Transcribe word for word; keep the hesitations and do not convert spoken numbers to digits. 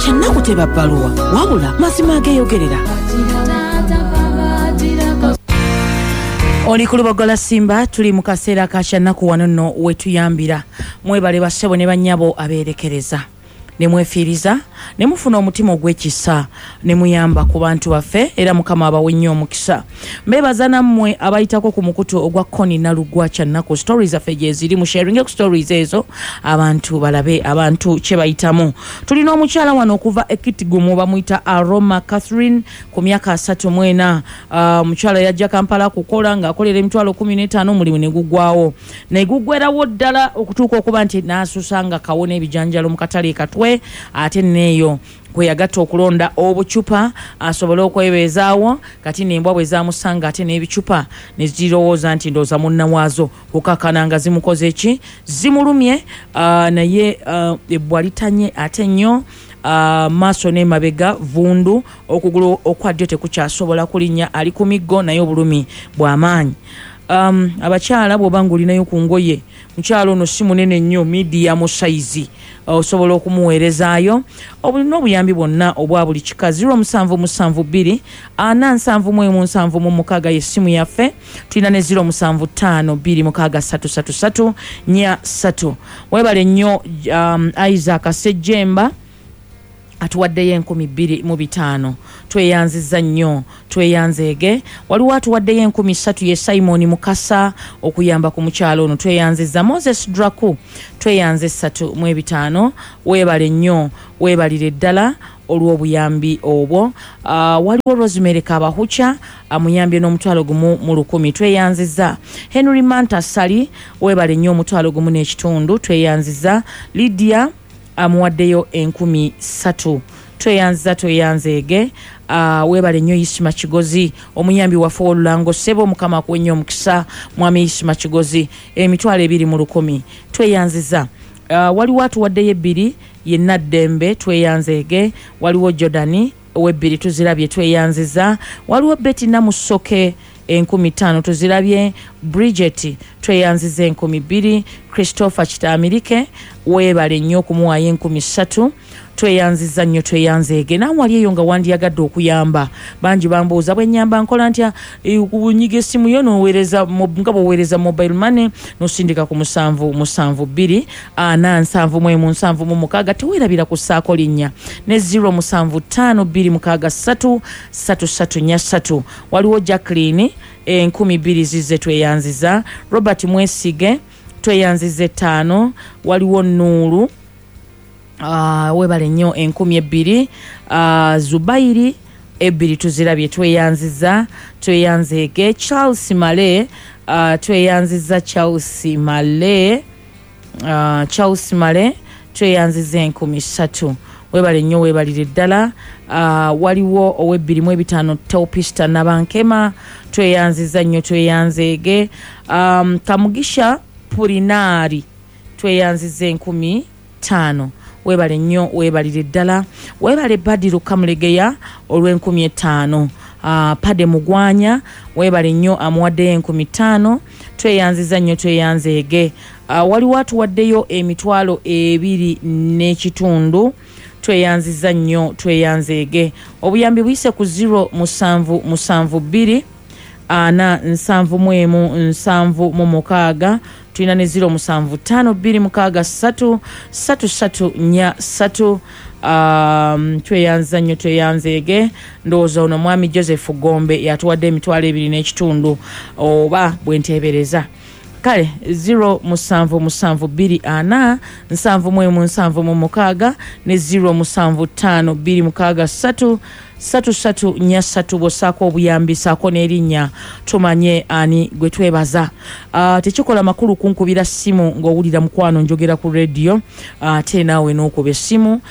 Kyannaku teba bbaluwa, wabula mazima ageeyogerera. Oli ku Lubogola Simba, tuli mu kaseera ka kyannaku. Wano nno wetuyambira. Mwebale bassebo ne bannyabo abeerekereza ne mwefiiriza ne mufuna omutima ogw'ekisa ne muyamba ku bantu baffe, era Mukama abawe nnyo omukisa. Mbeebaza nammwe abayitako ku mukutu ogwa Koni Nalugwa Kyannaku. Stories zaffe gyeziri, mu sharinge ku stories ezo abantu balabe abantu kye bayitamu. Tulina omukyala wano okuva Ekitigumu, bamuyita Aroma Catherine, ku myaka asatu mu ena. Omukyala uh, yajja Kampala kukola ng'akolera emitwalo kumi n'etaano, omulimu ne gugwawo, ne gugwerawo ddala okutuuka okuba nti n'asusa nga kawo n'ebijanjalo mu katale e Katwe, ate neeyo kwe yagatta okulonda obucupa asobole okwebeezaawo. Kati nembwa bwe zamusanga ate n'ebicupa ne zirowooza nti ndowooza munna waazo, kukakana nga zimukoze ki, zimulumye. uh, naye uh, ebbwa litanye ate nnyo, uh, maaso n'emabega vundu, okugulu okwa ddyo tekukyasobola kulinnya, ali ku miggo naye obulumi bw'amaanyi. um, abakyala bw'oba nga olinayo ku ngoye, mukyala ono si munene nnyo, medium size, osobola okumuweerezaayo obulina obuyambi bwonna obwa buli kika. zero musanvu musanvu bbiri ana nsanvu mu emu nsanvu mu mukaaga yessimu yaffe. Tulina ne zero musanvu ttaano bbiri mukaaga ssatu ssatu ssatu nnya ssatu. Webale nnyo. um, isaac Sejjemba atuwaddeyo enkumi bbiri mu bitaano, tweyanziza nnyo, tweyanzeege. Waliwo atuwaddeyo enkumi ssatu, ye Simon Mukasa, okuyamba ku mukyalo ono, tweyanziza. Moses Draku, tweyanze essatu mu ebitaano, weebale nnyo, weebalire ddala olw'obuyambi obwo. uh, waliwo Rosemary Kabahucha amuyambye n'omutwalo gumu mu lukumi, tweyanziza. Henry Manta Sali, weebale nnyo, omutwalo gumu n'ekitundu, tweyanziza. Lydia amuwaddeyo enkumi ssatu, tweyanziza, tweyanzeege. uh, weebale nnyo. Isima Kigozi, omuyambi waffe ow'olulango, ssebo Mukama akuwe nnyo omukisa. Mwami Isima Kigozi, emitwalo ebiri mu lukumi, tweyanziza. uh, waliwo atuwaddeyo ebbiri, yenna Ddembe, tweyanzeege. Waliwo Jordani owebbiri, tuzirabye, tweyanziza. Waliwo Betty Namusoke, enkumi ttaano, tuzirabye. Bridget, tweyanziza enkumi bbiri. Christopher Kitaamirike, weebale nnyo okumuwaayo enkumi ssatu, tweyanziza nnyo, tweyanzeege. Naawe wali eyo nga wandiyagadde okuyamba, bangi bambuuza bwe nyamba nkola ntya? Kunyiga essimu yo noweereza nga bw'oweereza mobile money, nosindika ku musanvu musanvu bbiri ana nsanvu mu emu nsanvu mu mukaaga. Teweerabira kussaako linnya ne zero musanvu ttaano bbiri mukaaga ssatu ssatu ssatu nnya ssatu. Waliwo Jacqueline, enkumi bbiri zizze, tweyanziza. Robert Mwesige, tweyanziza ettaano. Waliwo Nuulu, uh, webale nnyo, enkumi ebbiri. uh, zubairi ebbiri tuzirabye, tweyanziza, tweyanzeege. Charles Male, uh, tweyanziza. Charles Male, uh, Charles Male, tweyanziza enkumi ssatu, webale nnyo, webalire ddala. uh, waliwo owebbiri mu ebitaano, Teopista Nabankema, tweyanziza nnyo, tweyanzeege. um, kamugisha Purinaari, tweyanziza enkumi ttaano, webale nnyo, webalire ddala. Webale Badiru Kamulegeya olw'enkumi etaano. uh, pade Mugwanya, webale nnyo, amuwaddeyo enkumi ttaano, tweyanziza nnyo, tweyanzeege. uh, waliwo atuwaddeyo emitwalo ebiri n'ekitundu, tweyanziza nnyo, tweyanzeege. Obuyambi buyise ku zero musanvu musanvu bbiri ana nsanvu mu emu nsanvu mu mukaaga. Tulina ne zero musanvu ttaano bbiri mukaaga ssatu ssatu ssatu nnya ssatu. um, tweyanza nnyo, tweyanzeege. Ndowooza ono mwami Joseph Gombe yatuwadde emitwalo ebiri n'ekitundu oba bwenteebereza. Kale zero musanvu musanvu bbiri ana nsanvu mu emu nsanvu mu mukaaga ne zero musanvu ttaano bbiri mukaaga ssatu ssatu ssatu nnya ssatu. Bw'ossaako obuyambi, saako n'erinnya tumanye ani gwe twebaza. uh, tekikola makulu kunkubira ssimu ng'owulira mukwano njogera ku rediyo, ate uh, naawe n'okuba essimu.